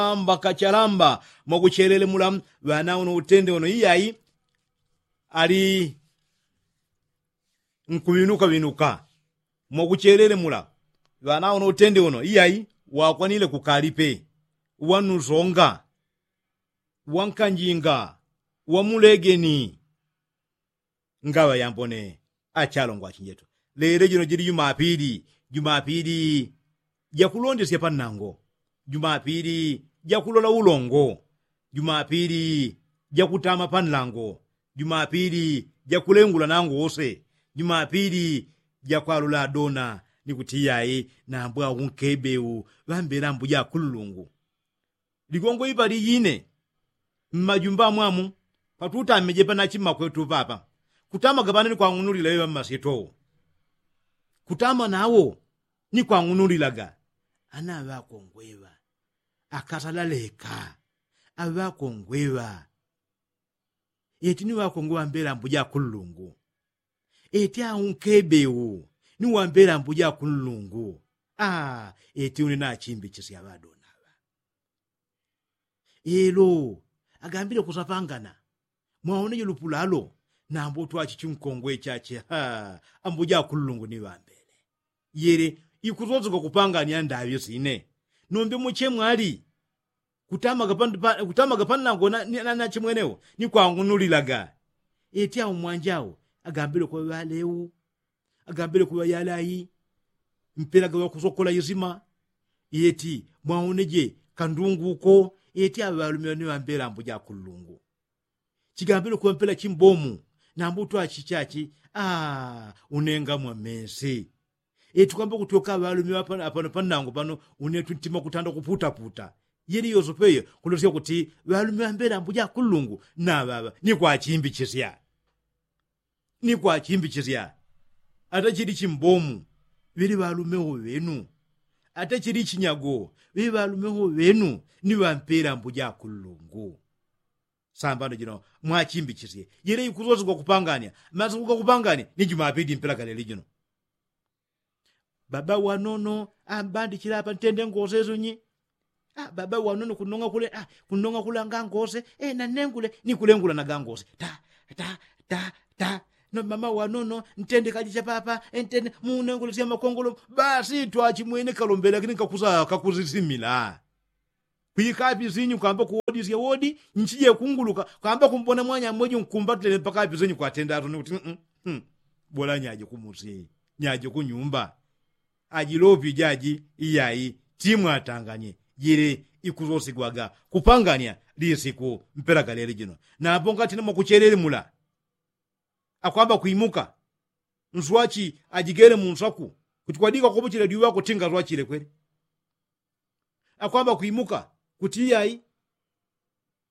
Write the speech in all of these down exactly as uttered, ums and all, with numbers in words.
amba kachalamba mwakuchelele mula. Ŵana uno utende uno iyayi ali nkuŵinuka ŵinuka mwakuchelele mula. Ŵana uno utende uno iyayi wakwanile kukalipe wanusonga wankanjinga wamulegeni. Ngaŵa yambone achalongwa achinjetu. Lele jino jili jumapili jumapili jakulondesya pannango jumapili jakulola ulongo jumapili jakutama panlango jumapili jakulengula nango wose jumapili jakwalola adona ni kuti iyayi nambwa unkebe u ŵambela mbuja akululungu. Ligongo ipali ine mmajumba amwamu patutamije panachi mmakwetu papa kutamaga pano ni kwang'unulila iŵa mmasito kutama nawo ni kwang'unulilaga. Ana aŵakongwe iŵa akasala leka aŵakongwe iŵa eti ni ŵakongwe ŵambela mbuja akululungu eti aunkebe u ni wambela mbuja akululungu. Aa eti une nachimbichisya ŵadona ŵa elo agambile kusapangana mwaoneje lupulalo. Nambo twachichi nkongwe chache haa ambuja akululungu ni ŵambele yele ikusoseka kupangania ndaŵi sine. Nombe muche mwali kutamaga pannango nachimwenewo ni kwang'unulilaga. Eti aumwanja au agambile kuŵa ŵaleu agambile kuŵa yalai mpelaga ŵakusokola isima. Eti mwaoneje kandungu uko eti aŵalume ŵani ŵambela ambuja akululungu. Chigambile kuŵa mpela chimbomu nambo twachichachi. Aa unenga mwamesi eti kwamba kutyoka aŵalume ŵapano pannango pano une tuntima kutanda kuputaputa. Yeli yosope iyo kulosya kuti ŵalume ŵambela ambuja akululungu naŵaŵa ni kwachimbi chisya ni kwachimbi chisya. Ata chili chimbomu ŵili ŵalume wo ŵenu ata chili chinyago ŵili ŵalume wo ŵenu ni ŵampela ambuja akululungu. Sambano jino mwachimbichisye yele ikusosigwa kupangania masiku gakupangania ni jumapili mpela kalele jino. Baba wanono ambandichila apa ntende ngose sunyi. Baba wanono kunong'a kule kunong'a kule anga ngose. Nanengule ni kulengula naga ngose ta ta ta ta. No mama wanono ntende kalicha papa ntende munengule sya makongolo. Basi twachimwene kalombela kini kakuza kakuzisimila. Kwikapi sinyu kwamba kuwodisya wodi nchije kunguluka kwamba kumbona mwanyamwejo nkumbatile mpaka api sinyu kwatenda atone kuti bola nyaje kumusi nyaje kunyumba. Ajilopi jaji iyayi timwatanganye jile ikusosigwaga kupangania lisiku mpela kalele jino. Napo ngatina mwakuchelele mula akwamba kwimuka nswachi ajigele munswaku kuti kwadika kopochela diwako tinga swachile kwele. Akwamba kwimuka kuti iyayi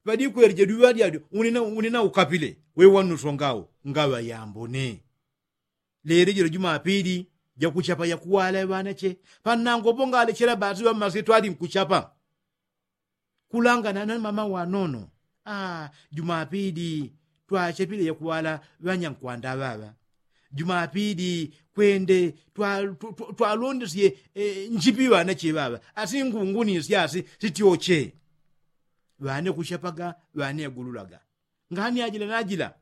ŵadikwelije diwa dyadyo. Unina ukapile wewanusongao ngaŵa yambone. Lele jilo jumapili jakuchapa yakuwala ŵanache pannango pongalechela basi ŵammasie twali nkuchapa. Kulangana na mama wanono. Jumapili twachepile yakuwala ŵanyankwanda ŵaŵa. Jumapili kwende twalondesye nchipi ŵanache ŵaŵa asi ngungunisye asi sityoche. Ŵane kuchapaga ŵane agululaga ngani ajila najila.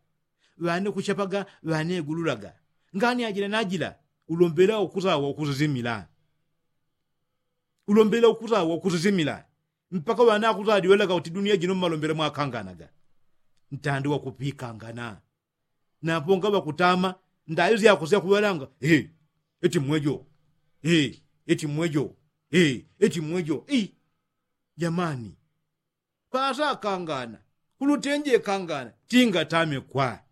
Ŵane kuchapaga ŵane agululaga ngani ajila najila. Ulombela ukusawa ukusisimila. Ulombela ukusawa ukusisimila. Mpaka ŵana akusadiwelaga kuti duniya jino mmalombela mwakanganaga. Ntandi wakupikangana. Napo ngaŵakutama ndayo syakosya kuŵalanga. Eti mmwejo. Eti mmwejo. Eti mmwejo. Jamani. Pasa akangana kulutenje kangana tingatame kwa.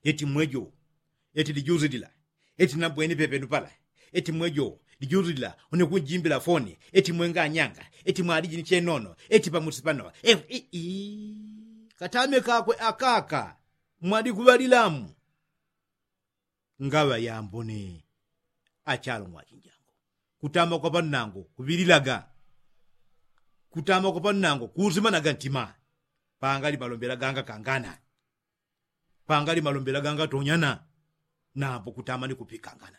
Eti mmwejo. Eti lijuzi lila eti nambweni pepenu pala. Eti mmwejo lijuzi lila une kunjimbila foni eti mwenganyanga eti mwaliji ni chenono eti pamusi pano. Katame kakwe akaka. Mwalikuŵalilamu. Ngaŵa yambone. Achalong'wa achinjangu kutama kwa pannango kuŵililaga. Kutama kwa pannango kuusimanaga ntima. Pangali malombela ganga kangana. Pangali malombela ganga tonyana. Nambo kutama ni kupikangana.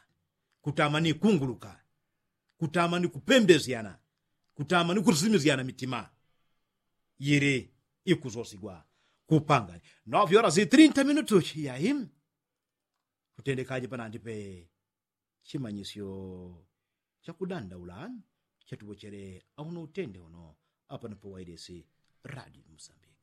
Kutama ni kunguluka. Kutama ni kupembesyana. kutama ni kusimizyana mitima yili ikusosigwa kupangani. Novyola si trinta minutu chiyayi kutendekaje panandi pe chimanyisyo chakudandaula chatupochele auno utende uno apano pawailesi radio musambiki.